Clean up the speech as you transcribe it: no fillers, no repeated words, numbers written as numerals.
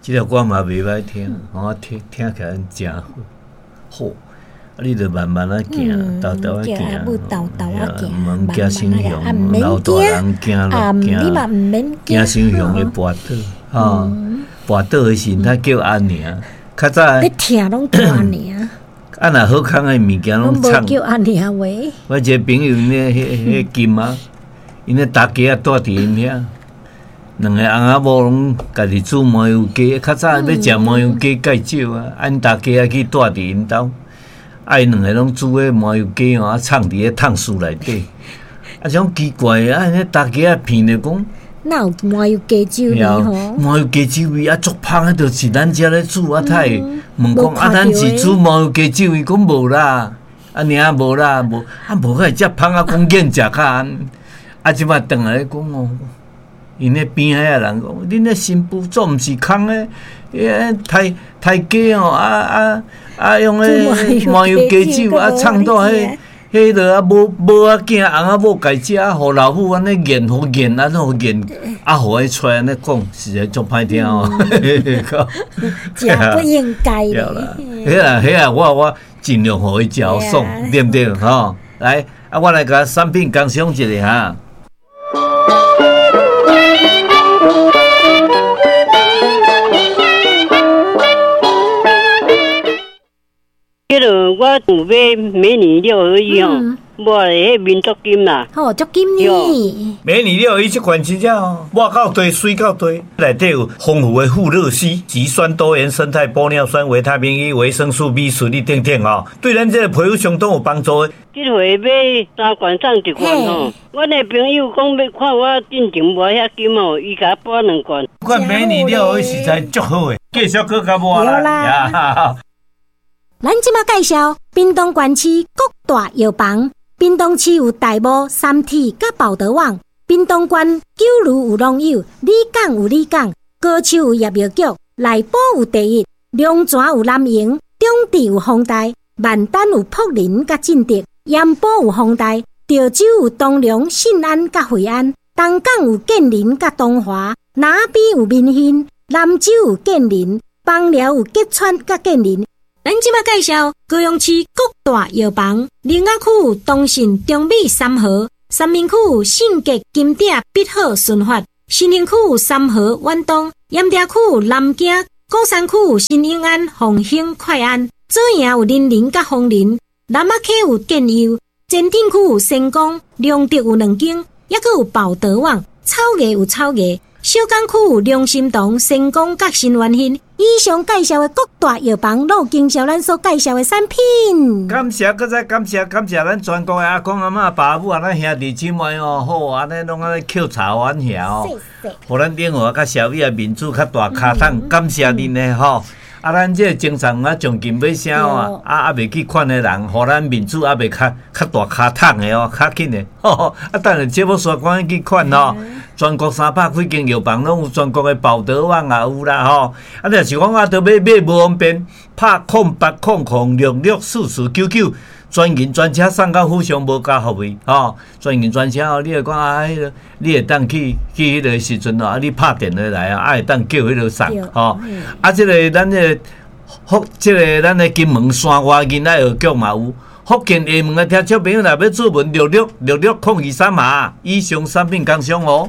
這條歌嘛袂歹聽，我聽聽起來誠好。啊，你著慢慢仔行，沓沓仔行，毋驚傷熊，老大人行落驚，驚傷熊會跋倒，吼，跋倒的時陣，他叫阿娘。較早你聽攏叫阿娘。啊，若好康的物件攏藏。叫阿娘話。我一個朋友，𪜶彼彼金仔，𪜶咧大家仔住佇𪜶遐，兩個翁仔某攏家己煮麻油雞。較早欲食麻油雞較少啊，啊𪜶大家仔去住佇𪜶兜，啊𪜶兩個攏煮彼麻油雞吼，啊藏佇彼炕欶內底。啊，種奇怪啊，彼大家仔鼻著講。哪有麻油雞酒味吼？麻油雞酒味啊，足芳的，就是咱遮咧煮啊，他會問講啊，咱是煮麻油雞酒味，講無啦，啊爾無啦，無啊無，會遮芳啊，講見食較按，啊這擺轉來講哦，𪜶咧邊仔的人講，恁咧新婦做毋是空的，彼刣刣雞哦，啊啊啊用彼麻油雞酒啊，藏到彼。彼落啊，某某仔囝、翁仔某家食，啊，予老母按呢癮，予癮，按呢予癮，啊，予伊出來按呢講，實在足歹聽哦。食不應該咧。彼啦，彼啦，我我盡量予伊食予爽，對毋對？吼，來，啊，我來共產品工商一下哈。彼落我有買美女六合一吼，抹咧彼面足金啦。吼，足金呢？美女六合一這款真正哦，抹夠濟，水夠濟，內底有豐富的富勒烯、植酸多元生態玻尿酸、維他命 E、維生素 B 群等等吼，對咱這個皮膚相當有幫助的。這回買三罐送一罐吼，阮的朋友講欲看我進前抹遐金吼，伊共我補兩罐。這款美女六合一實在足好的，繼續閣較抹啦。咱這馬介紹屏東縣市各大藥房。屏東市有大武、三鐵佮寶德網。屏東縣九如有農友，里港有里港，高樹有葉藥局，內埔有第一，龍泉有南榮，中坜有宏大，萬丹有福林佮進德，鹽埔有宏大，潮州有東龍、信安佮惠安，東港有建林佮東華，南邊有民興，南州有建林，枋寮有吉川佮建林。咱這馬介紹高雄市各大藥房，苓仔區有東信、中美、三和；三民區有信吉、金鼎、必好、順發；新興區有三和、遠東；鹽埕區有南京；鼓山區有新永安、鳳興、快安；左營有林林佮楓林；南仔溪有建佑；前鎮區有成功；龍德有兩間，猶閣有寶德網；草藝有草藝。小港區有良心堂、成功佮新源興。以上介紹的各大藥房，攏有經銷咱所介紹的產品。感謝，閣再感謝，感謝咱全國的阿公阿嬤、爸母啊，咱兄弟姊妹哦，好，按呢攏按呢扣查阮遐哦，予咱永和佮小米啊面子較大跤桶，感謝恁的吼。啊，咱這個精神啊，將近欲啥哦，啊，猶未去款的人，予咱面子猶未較較大跤桶的哦，較緊的，啊，等下節目煞趕緊去款哦。全國300幾間藥房攏有，全國的寶德網也有啦吼。啊，若是講啊，著欲買無方便，拍0800664499，專人專車送到府上，無加服費吼。專人專車哦，你會講啊，彼個你會當去去彼個時陣哦，啊，你拍電話來啊，啊會當叫彼個送吼。啊，這個咱這個福，這個咱的金門山外囡仔藥局嘛有。福建廈門的聽眾朋友若欲諮詢666602三嘛，以上產品工商哦。